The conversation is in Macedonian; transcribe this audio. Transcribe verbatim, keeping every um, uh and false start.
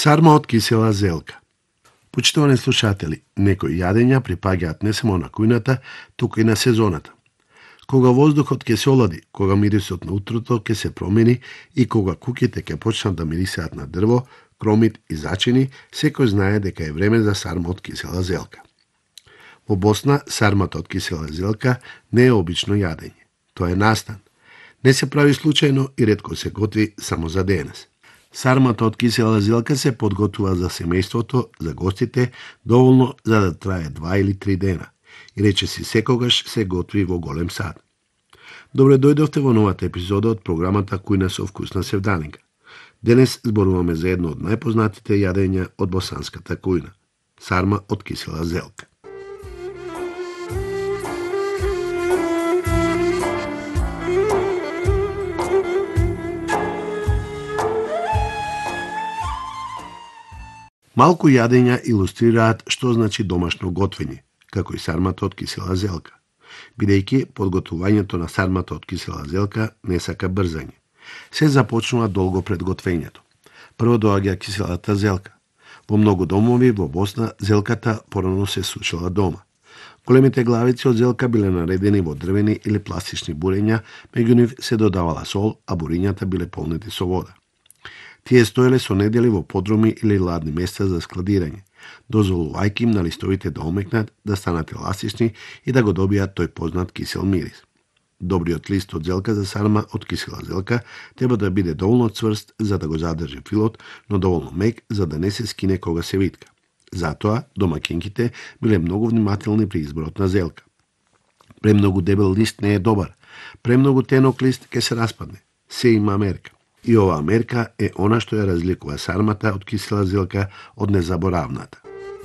Сарма од кисела зелка. Почитувани слушатели, некои јадења припаѓаат не само на кујната, туку и на сезоната. Кога воздухот ќе се олади, кога мирисот на утрото ќе се промени и кога куќите ќе почнат да мирисаат на дрво, кромит и зачини, секој знае дека е време за сарма од кисела зелка. Во Босна, сармата од кисела зелка не е обично јадење. Тоа е настан. Не се прави случајно и ретко се готви само за денес. Сармата од кисела зелка се подготвува за семејството, за гостите, доволно за да трае два или три дена. И речиси секогаш се готви во голем сад. Добре дојдовте во новата епизода од програмата Кујна со вкусна севданинка. Денес зборуваме за едно од најпознатите јадења од босанската кујна – сарма од кисела зелка. Малку јадења илустрираат што значи домашно готвење, како и сармата од кисела зелка, бидејќи подготвувањето на сармата од кисела зелка не сака брзање. Се започнува долго пред готвењето. Прво доаѓа киселата зелка. Во многу домови во Босна зелката порано се сушила дома. Големите главици од зелка биле наредени во дрвени или пластични бурења, меѓу нив се додавала сол, а бурењата биле полнети со вода. Тие стоеле со недели во подруми или ладни места за складирање, дозволувајќи им на листовите да омекнат, да станат еластични и да го добијат тој познат кисел мирис. Добриот лист од зелка за сарма од кисела зелка треба да биде доволно цврст за да го задржи филот, но доволно мек за да не се скине кога се витка. Затоа домаќинките биле многу внимателни при изборот на зелка. Премногу дебел лист не е добар, премногу тенок лист ќе се распадне. Се има мерка. И оваа мерка е она што ја разликува сармата од кисела зелка од незаборавната.